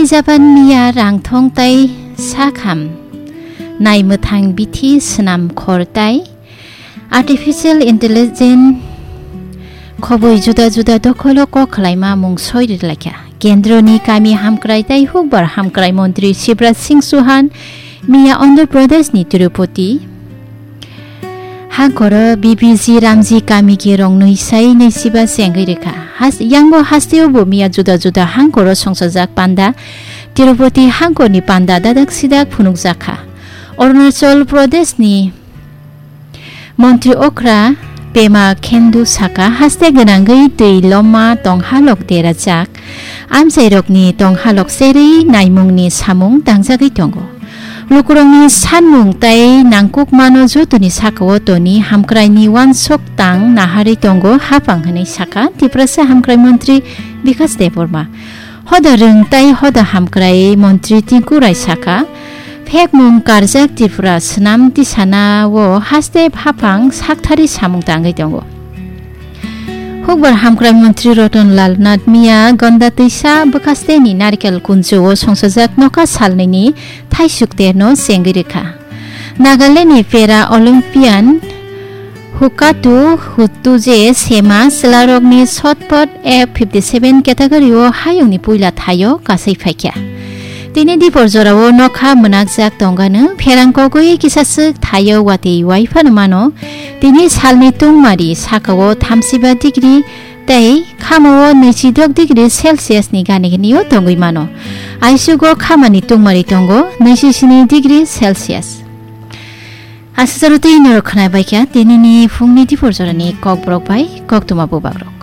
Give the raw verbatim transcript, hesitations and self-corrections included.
Japan miya rangthong tai sakham nai mwthang bithi swnam khor tai artificial intelligence khoboi juda juda dokholo kok khlaima mung soi ri laikha. Kendroni kami hamkrai tai hukbar hamkrai montri Shivraj Singh Chauhan miya Andhra Pradesh ni Tirupati hangkoro B B G Ramji kami ki rong nwi sai nwi siba chengwi rikha. Has-, yango hasteo bo miya juda juda hangkoro songsajak panda Tirupati hangkorni panda dadak sidak phunukjakha. Arunachal Pradesh ni Montri okra Pema Khendu saka, haste gwnangwi twi lomma tonghalok derajak, amchairokni tonghalok cherwi naimungni samung tangjagwi tongo. Lukurokni sanmung tai nangkukmano jotoni sakao toni hamkraini uansuk tang naharwi tongo haphang hwnwi saka Tiprasa hamkrai montri Bikas Debbarma. Hoda rwng tai hoda hamkrai montri Tinku Rai saka, phekmung karjak Tripura swnam tisanao haste haphang sakthari samung tangwi tongo. Hukbar hamkrai montri Ratan Lal Nath miya Gonda twisa bwkhasteni Narikel kunjwio songsajak nokha salnwini thaisuk terno chengwi rikha. Nagalandni Para Olympian Hukatu Hutuje Sema chwlarokni shot put F fifty seven category o hayungni puila thaio kasai phaikha. Tini dipor jorao nokha mwnakjak tongano pherang kogwi kisaswk thaio watwi waiphano mano. Tini salni tungmari sakao thamsiba degree tei khamao nwisidok degree Celsius ni gani gnio tongwi mano. Aisugo khamani tungmari tongo nwisisini degree Celsius. Aswk jora twi norok khwnai baikha tinini phungni dipor jorani kokborok bai koktwma bubagrok.